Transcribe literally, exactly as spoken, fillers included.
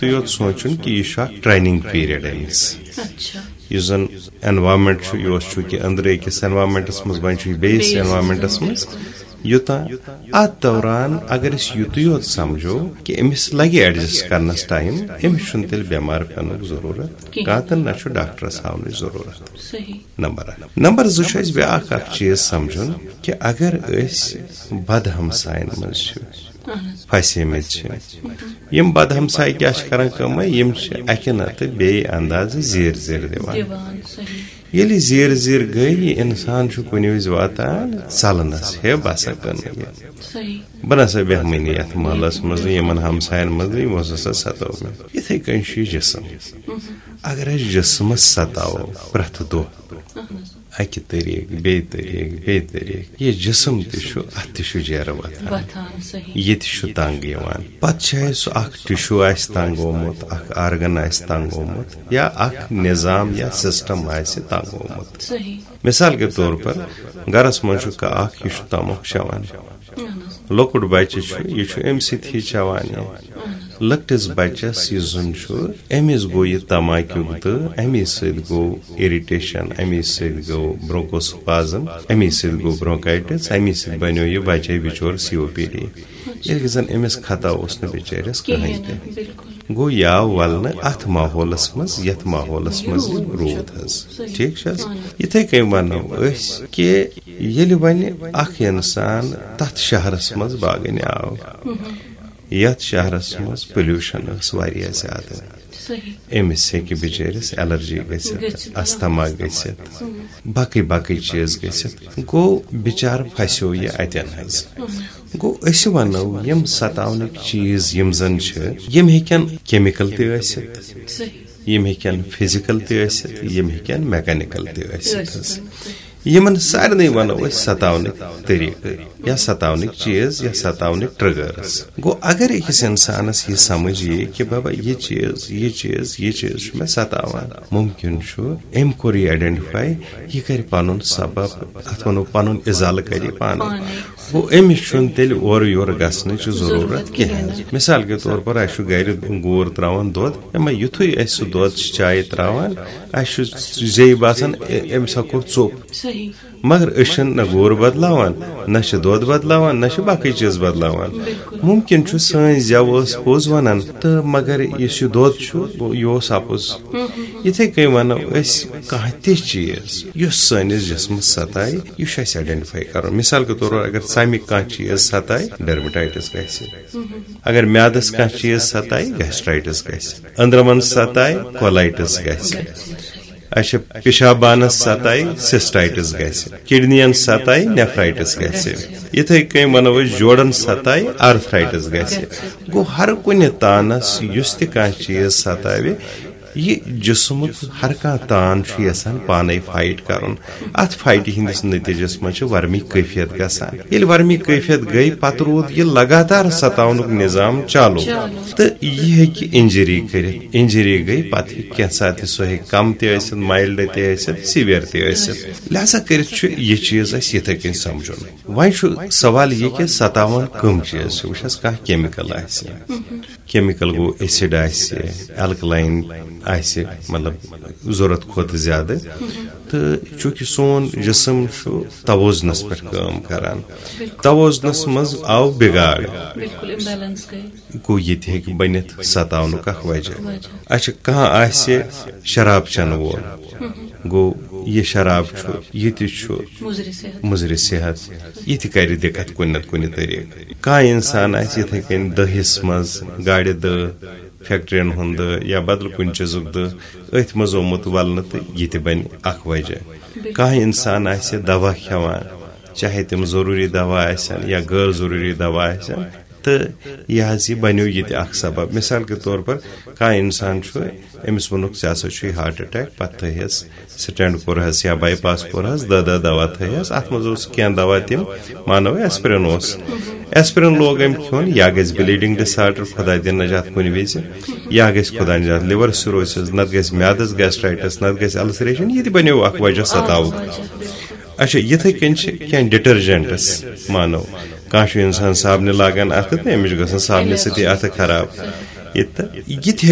تہٕ یوت سونٛچُن کہِ یہِ چھُ اکھ ٹریننگ پیریڈ أمِس۔ اچھا۔ یُس زن انوائرمنٹ چھُ، یہِ اوس چوٗنٛکہِ أنٛدرٕ أکِس انوائرمنٹس منٛز، وۄنۍ چھُ یہِ بیٚیِس بیٚیِس انوائرمنٹس منٛز، یوٚتام اتھ دوران اگر أسۍ یُتُے یوت سمجھو کہِ أمِس لگہِ ایڈجسٹ کرنس ٹایم، أمِس چھُنہٕ تیٚلہِ بٮ۪مار پٮ۪نُک ضروٗرت کِہیٖنۍ۔ کانٛہہ تہٕ نہ چھُ ڈاکٹرس ہاونٕچ ضروٗرت۔ صحیح۔ نمبر اکھ۔ نمبر زٕ چھُ اَسہِ بیٛاکھ اکھ چیٖز سمجھُن کہِ اگر أسۍ بد ہمساین منٛز چھِ اہن حظ۔ پھسیمٕتۍ چھِ، یِم بد ہمساے کیٛاہ چھِ کران کٲمہ، یِم چھِ اکہِ نتہٕ بیٚیہِ اندازٕ زیٖر زیٖر دِوان۔ دِوان۔ صحیح۔ ییٚلہِ یہِ زیٖر زیٖر گٔے، یہِ انسان چھُ کُنہِ وِزِ واتان ژلنس، ہے بہٕ ہسا کٕنہٕ یہِ، صحیح۔ بہٕ نسا بیٚہمٕے نہٕ یتھ محلس منٛز، یِمن ہمساین منٛز، یِمو ہسا ستٲو مےٚ۔ یِتھے کٔنۍ چھُ یہِ جسم۔ اگر أسۍ جسمس ستاوو پرٛٮ۪تھ دۄہ، اہن حظ۔ اکہِ طریقہٕ، بیٚیہِ طریقہٕ، بیٚیہِ طریقہٕ، یہِ جسم تہِ چھُ، اتھ تہِ چھُ جیرٕ وۄتھان۔ وۄتھان۔ صحیح۔ یہِ تہِ چھُ تنگ یِوان۔ پتہٕ چھُ اَسہِ سُہ اکھ ٹِشوٗ آسہِ تنگ گوٚمُت، اکھ آرگن آسہِ تنگ گوٚمُت، یا اکھ نظام یا سسٹم آسہِ تنگ گوٚمُت۔ صحیح۔ مثال کے طور پر، گرس منٛز چھُ کانٛہہ اکھ، یہِ چھُ تموکھ چٮ۪وان۔ اہن حظ۔ لۄکُٹ بچہِ چھُ، یہِ چھُ اَمہِ سۭتۍ ہی چٮ۪وان یہِ۔ لۄکٹِس بچس یُس زن چھُ، أمِس گوٚو یہِ تماکیُک دٕ، اَمی سۭتۍ گوٚو اِرِٹیشن، اَمی سۭتۍ گوٚو برونکوسپازم، اَمی سۭتۍ گوٚو برونکایٹس، اَمی سۭتۍ بنیو یہِ بچے بچور سی او پی ڈی۔ ییٚلہِ زن أمِس خطا اوس نہٕ بِچٲرِس کٕہٕنۍ کِہیٖنۍ تہِ۔ نہٕ، بِلکُل۔ گوٚو یہِ آو ولنہٕ اتھ ماحولس منٛز، یتھ ماحولس منٛز یہِ روٗد حظ۔ صحیح۔ ٹھیٖک چھِ حظ؟ اہن۔ یِتھے کٔنۍ ونو أسۍ کہِ ییٚلہِ وۄنۍ اکھ انسان تتھ شہرس منٛز باگنہِ آو، یتھ شہرس منٛز پولیوشن ٲس واریاہ زیادٕ، صحیح۔ أمِس ہیٚکہِ بِچٲرِس الرجی گٔژھِتھ، گٔژھِتھ۔ استھما گٔژھِتھ، باقٕے باقٕے چیٖز گٔژھِتھ۔ گوٚو بِچارٕ پھسیو یہِ اتٮ۪ن حظ۔ گوٚو أسۍ ونو یِم ستاونٕکۍ چیٖز یِم زن چھِ، یِم ہیٚکن کیمیکل تہِ ٲسِتھ، صحیح۔ یِم ہیٚکن فزیکل تہِ ٲسِتھ، یِم ہیٚکن میکانیکل تہِ ٲسِتھ حظ۔ ٲسِتھ۔ یِمن سارنٕے ونو أسۍ ستاونٕکۍ طریقہٕ یا ستاونٕکۍ چیٖز یا ستاونٕکۍ ٹرگرز۔ گوٚو اگر أکِس انسانس یہِ سمجھ یی کہِ بابا یہِ چیٖز، یہِ چیٖز، یہِ چیٖز چھُ مےٚ ستاوان، ممکن چھُ أمۍ کوٚر یہِ آیڈنٹیفائی، یہِ کرِ پنُن سبب، اتھ ونو پنُن ازالہٕ کرِ یہِ پانے۔ پانے۔ گوٚو أمِس چھُنہٕ تیٚلہِ اورٕ یورٕ گژھنٕچ ضروٗرت ضروٗرت کِہیٖنۍ۔ کِہیٖنۍ۔ مثال کے طور پر اسہِ چھُ گرِ گوٗر تراوان دۄد، اما یُتھُے اسہِ سُہ دۄد چھِ چایہِ تراوان، اسہِ چھُ زیٚیہِ باسان، "اے، أمِس ہا کوٚر ژوٚپ۔" صحیح۔ مگر أسۍ چھِنہٕ نہ گوٗر بدلاوان، نہ چھِ دۄد بدلاوان، نہ چھِ باقٕے چیٖز بدلاوان۔ ممکن چھُ سٲنۍ زٮ۪و ٲس پوٚز ونان، تہٕ مگر یُس یہِ دۄد چھُ، یہِ اوس اپُز۔ یِتھے کٔنۍ ونو أسۍ کانٛہہ تہِ چیٖز یُس سٲنِس جسمس ستایہِ، یہِ چھُ اسہِ آیڈنٹیفائی کرُن۔ مثال کے طور پر اگر ژمہِ کانٛہہ چیٖز ستایہِ، ڈرمیٹائٹس گژھِ۔ اگر میادس کانٛہہ چیٖز ستایہِ، گیسٹرائٹس گژھِ۔ أنٛدرمن ستایہِ، کولائٹس گژھِ۔ اچھا، پیشاب بانس ستایہِ، سسٹائٹس گژھِ۔ کڈنین ستایہِ، نیفرائٹس گژھِ۔ یِتھے کٔنۍ ونو أسۍ جوڑن ستایہِ، آرتھرائٹس گژھِ۔ گوٚو ہر کُنہِ تانس یُس تہِ کانٛہہ چیٖز ستاوِ، یہِ جسمُک ہر کانٛہہ تان چھُ یژھان پانے فائٹ کرُن۔ اتھ فائٹہِ ہٕنٛدِس نتیجس منٛز چھِ ورمی کیفیت گژھان۔ ییٚلہِ ورمی کیفیت گٔے، پتہٕ روٗد یہِ لگاتار ستاونُک نظام چالو۔ تہٕ یہِ ہیٚکہِ انجری کٔرِتھ۔ انجری گٔے، پتہٕ ہیٚکہِ کینٛہہ ساتہٕ تہِ سۄ ہیٚکہِ کم تہِ ٲسِتھ، مائلڈ تہِ ٲسِتھ، سیویئر تہِ ٲسِتھ۔ لہذا کٔرِتھ چھُ یہِ چیٖز اسہِ یِتھے کٔنۍ سمجھُن۔ وۄنۍ چھُ سوال یہِ کہِ ستاوان کم چیٖز چھِ؟ وٕچھ حظ، کانٛہہ کیمیکل آسہِ، کیمیکل گوٚو ایسڈ آسہِ، الکلائن آسہِ، مطلب ضرورت کھۄتہٕ زیادٕ، تہٕ چونکہ سون جسم چھُ توازنس پٮ۪ٹھ کٲم کران، توازنس منٛز آو بگاڑ، بِلکُل، امبیلنس گٔے۔ گوٚو یہِ تہِ ہیٚکہِ بٔنِتھ ستاونُک اکھ وجہ۔ اچھا، کانٛہہ آسہِ شراب چٮ۪نہٕ وول، گوٚو یہِ شراب چھُ، یہِ تہِ چھُ مُضرِ صحت۔ مُضرِ صحت، یہِ تہِ کرِ دِقت کُنہِ نتہٕ کُنہِ طریقہٕ۔ کانٛہہ انسان آسہِ یِتھے کٔنۍ دٔہِس منٛز گاڑِ دٔہ، فیکٹرین ہُنٛد دٔہ یا بدل کُنہِ چیٖزُک دٔہ، أتھۍ منٛز آمُت ولنہٕ، تہٕ یہِ تہِ بنہِ اکھ وجہ۔ کانٛہہ انسان آسہِ دوا کھٮ۪وان، چاہے تِم ضروٗری دوا آسن یا غٲر ضروٗری دوا آسن، تہٕ یہِ حظ یہِ بنیو یہِ تہِ اکھ سبب۔ مثال کے طور پر، کانٛہہ انسان چھُ، أمِس ووٚنُکھ، "ژےٚ ہسا چھُے ہارٹ اٹیک"، پتہٕ تھٲیہس سٹینٹ کوٚرہس یا بائی پاس کوٚرہس، دہ دہ دوا تھٲیہس۔ اتھ منٛز اوس کینٛہہ دوا تِم، مانو ایسپرین اوس۔ ایسپرین لوگ أمۍ کھیوٚن، یا گژھِ بلیڈنگ ڈس آرڈر، خدا دِن نجات کُنہِ وِزِ، یا گژھِ خدا نجات لیور سیروسز، نتہٕ گژھِ میادس گیسٹرائٹس، نتہٕ گژھِ السریشن۔ یہِ تہِ بنیو اکھ وجہ ستاوُک۔ اچھا، یِتھے کٔنۍ چھِ کینٛہہ ڈٹرجنٹس، مانو کانٛہہ چھُ انسان صابنہِ لاگان اتھٕ تہٕ أمِس چھُ گژھان صابنہِ سۭتی اتھٕ خراب۔ ییٚتہِ تہٕ یہِ تہِ ہیٚکہِ